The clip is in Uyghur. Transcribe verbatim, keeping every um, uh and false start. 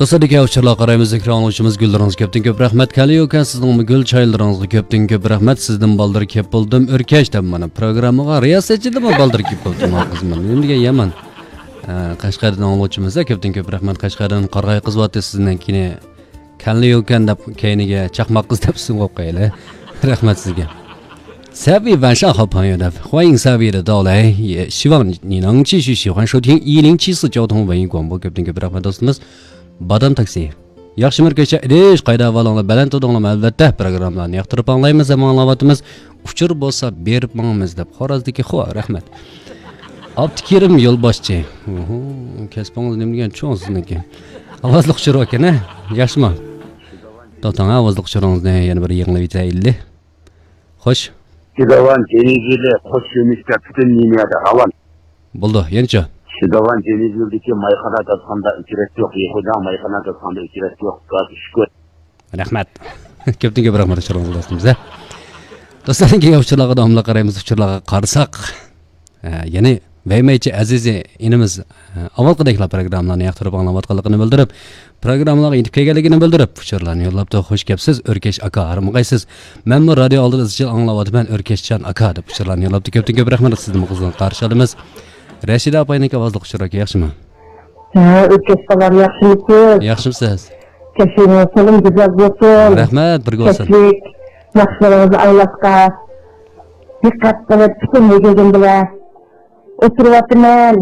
قىسقىدىكى ئۇچۇرلارغا قارايمىز، زىكرى ئاڭلىغۇچىمىز گۈللىرىڭىزگە كۆپتىن كۆپ رەھمەت. كەلدى ئۇكا، سىزنىڭمۇ گۈل چايلىرىڭىزغا كۆپتىن كۆپ رەھمەت. سىزدىن بالدۇر كەپ بولدۇم، ئۆركەش دەپ مانا پروگراممىغا رىياسەتچىدىنمۇ بالدۇر كەپ بولدۇم، ھە، قىزمەن. نېمە دېگەن يامان. ھە، قەشقەردىن ئاڭلىغۇچىمىز-دە كۆپتىن كۆپ رەھمەت. قەشقەردىن قارىغاي قىزىۋاتتى سىزنىڭكىنى. كەلدى ئۇكەن دەپ كەينىگە چاقماق قىز دەپ ئىسىم قويۇپ قويايلى. رەھمەت سىزگە. 三位晚上好朋友 دەپ. 欢迎三位的到来，也希望你能继续喜欢收听一零七四交通文艺广播. كۆپتىن كۆپ رەھمەت دوستىمىز. بادام تاكسى. ياخشىمۇ كەچە ئىدىش، قايدا ئەھۋالىڭلار، بەلەن تۇردۇڭلارمۇ؟ ئەلۋەتتە، پروگراممىلارنى ياقتۇرۇپ ئاڭلايمىز ھەم ئاڭلاۋاتىمىز. ئۇچۇر بولسا بېرىپ ماڭىمىز دەپ. خورازدىكى خو، رەھمەت. ئابدۇكېرىم يولباشچى. ئوھو، كەسپىڭىز نېمە دېگەن چوڭ سىزنىڭكى. ئاۋازلىق ئۇچۇر ئىكەن، ھە؟ ياخشىمۇ؟ توختاڭ، ئاۋازلىق ئۇچۇرىڭىزنى يەنە بىر يېڭىلىۋېتەيلى. خوش. شىداۋان جېنىگىلى قوش يۆنىلىشتە پۈتۈن لىنىيەدە راۋان. بولدى، يەنىچۇ؟ شىداۋان جېنىگىلدىكى مايخانا داستىخاندا ئۆچرەت يوق، يېخۇدا مايخانا داستىخاندا ئۆچرەت يوق، گاز ئۈچ كۈن. رەھمەت. كۆپتىن كۆپ رەھمەت ئۇچۇرىڭىزغا دوستىمىز، ھە. دوستلار، كېيىن ئۇچۇرلارغا داۋاملىق قارايمىز، ئۇچۇرلارغا قارىساق. ھە، يەنى ۋەيمەيچى ئەزىزى ئىنىمىز، ھە، ئاۋۋالقىدەكلا پروگراممىلارنى ياقتۇرۇپ ئاڭلاۋاتقانلىقىنى بىلدۈرۈپ، پروگراممىلارغا يېتىپ كەلگەنلىكىنى بىلدۈرۈپ، ئۇچۇرلارنى يوللاپتۇ. خوش كەپسىز، ئۆركەش ئاكا، ھارمىغايسىز. مەنمۇ رادىيو ئالدىدا ئىزچىل ئاڭلاۋاتىمەن، ئۆركەشجان ئاكا، دەپ ئۇچۇرلارنى يوللاپتۇ. كۆپتىن كۆپ رەھمەت، سىزنىمۇ قىزغىن قارشى ئالىمىز. رەشىدە ئاپاينىڭكى ئاۋازلىق ئۇچۇرى ئاكا، ياخشىمۇ؟ ھە، ئۆركەش بالام، ياخشىمۇسىز؟ ياخشىمۇسىز؟ كەچلىكىڭىز تولىمۇ گۈزەل بولسۇن. رەھمەت، بىرگە بولسۇن. كەچلىك ناخشىلىرىڭىزنى ئاڭلاشقا دىققەت قىلىپ، پۈتۈن ۋۇجۇدۇم بىلەن ئولتۇرۇۋاتىمەن.